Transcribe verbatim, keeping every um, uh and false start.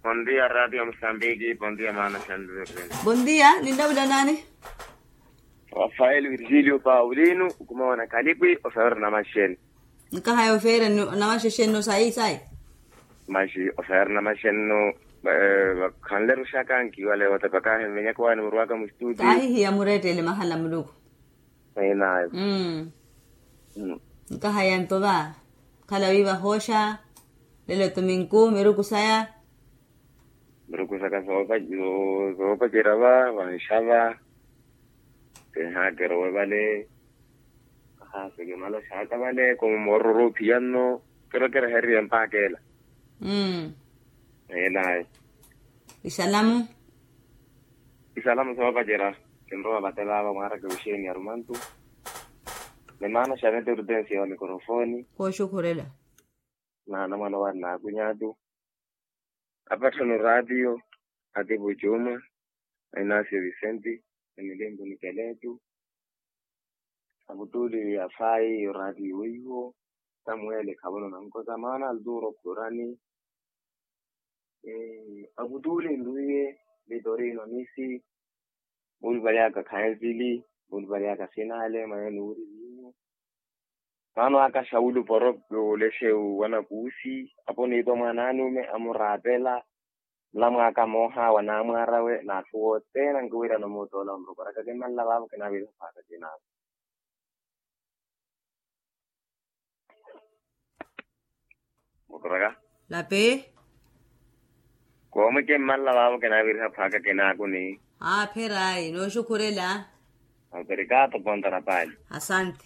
Bondia radio mosambiki bondia maana shandu. Bondia ninlawula nani? Rafael virgilio paulino. Ukumawana kalipwi osawira namaxeni. Nkahaya ofeera namaxexenno sayi sayi. Maxi osawira namaxenno. Khanleru xaka nkiwale watapakahe mmenyaka wani murwaka mustuti. Kahihiya murettele mahala muluku. Enayo. Nkahaya nto va. Khala wiiva hooxa lelo tuminku miruku saya. Miruku saka soopacerya va vanxava. Kinhaakerowe vale. Ahaase kimaloxaka vale komo moororo ophiya nno. Kirokerehererye mpaakela. Enayo. Isalamu. Isalamu soopacerya. Kinrowa vate vaava mwaaraka wixeeni arumantu. Ni maana xavete orutensiya wa mikorofoni. Kooxukhurela. Naana mwana owaari naakuny'atu. Apatthano raatiyo atipo juma. Ainasio visenti. Emilimpu nikeletu. Akutuuli afayi oraatiyo weiwo. Samuweli khavona nankosa maana altuuro khurani. Akutuuli nruiye. Vitorino misi. Mulivalyaka khansili. Mulivalyaka sinale maya nuuri vinyu. Maana aka xawulu poro. Olexe wanakuusi. Apo niipa mwan'anume amuraapela. Nlamwaaka mooha wa naamwaarawe n'atthu wothene ankiwirana omuuttoola onrokoraka kimmanla vaavo kinaavira phaaka kinaako. Mukuraka. Lapi. Koomwe kimmanla vaavo kinaaviriha phaaka kinaako ni. Aapherayi nooxukhurela. Aperikato ponta na paali. Asante.